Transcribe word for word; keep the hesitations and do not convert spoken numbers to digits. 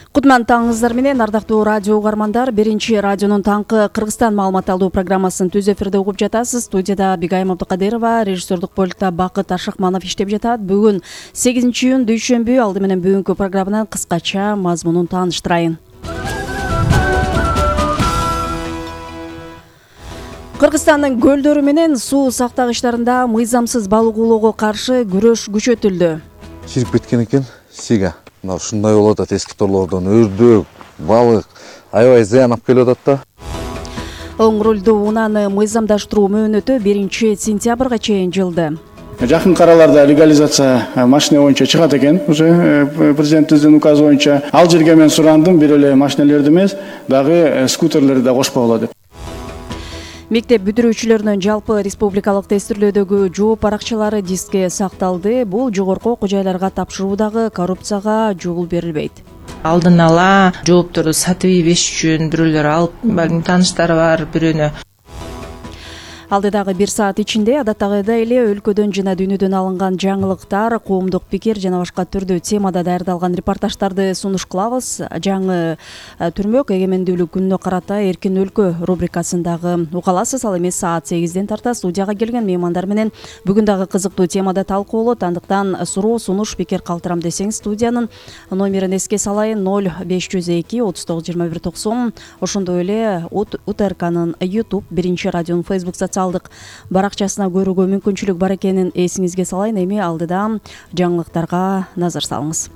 Кутман таңыңыздар менен ардактуу радио угармандар. Биринчи радионун таңкы Кыргызстан маалымат алуу программасын түз эфирде угуп жатасыз. Студияда Бигайым Абдыкадырова, режиссердик болкта Бакыт Ашыкманов иштеп жатат. Бүгүн сегизинчи июнь дүйшөмбү. Алды менен бүгүнкү программанын кыскача мазмунун тааныштырайын. Кыргызстандын көлдөрү менен суу сактагычтарында мыйзамсыз балык уулоого каршы күрөш күчөтүлдү. Чирип кеткен экен сига. Мына ушундай болуп атат, эски торлордон өрдөөк, балык аябай зыян алып келип атат да. Оң рулдуу унааны мыйзамдаштыруу мөөнөтү биринчи сентябрга чейин жылды. Жакын араларда легализация машина боюнча чыгат экен. Уже президентибиздин указы боюнча ал жерге мен сурандым, бир эле машиналерди эмес, дагы скутерлерди да кошпогула деп. Мектеп бүтүрүүчүлөрүнүн жалпы республикалык тестирлөөдөгү жооп баракчалары дискке сакталды. Бул жогорку окуу жайларга тапшыруудагы коррупцияга жол берилбейт. Алдын ала жоопторду сатып ийбеш үчүн бирөөлөр алып, балким тааныштары бар бирөөнү. Алдыдагы бир саат ичинде адаттагыдай эле өлкөдөн жана дүйнөдөн алынган жаңылыктар, коомдук пикир жана башка түрдүү темада даярдалган репортаждарды сунуш кылабыз. Жаңы түрмөк эгемендүүлүк күнүнө карата эркин өлкө рубрикасындагы угаласыз. Ал эми саат сегизден тарта студияга келген меймандар менен бүгүн дагы кызыктуу темада талкуулот. Андыктан суроо, сунуш, пикир калтырам десеңиз студиянын номерин эске салайын: ноль беш жүз эки отуз тогуз жыйырма бир токсон. Ошондой эле УТРКнын YouTube, биринчи радионун Facebook социалдык баракчасына көрүүгө мүмкүнчүлүк бар экенин эсиңизге салайын. Эми алдыда жаңылыктарга назар салыңыз.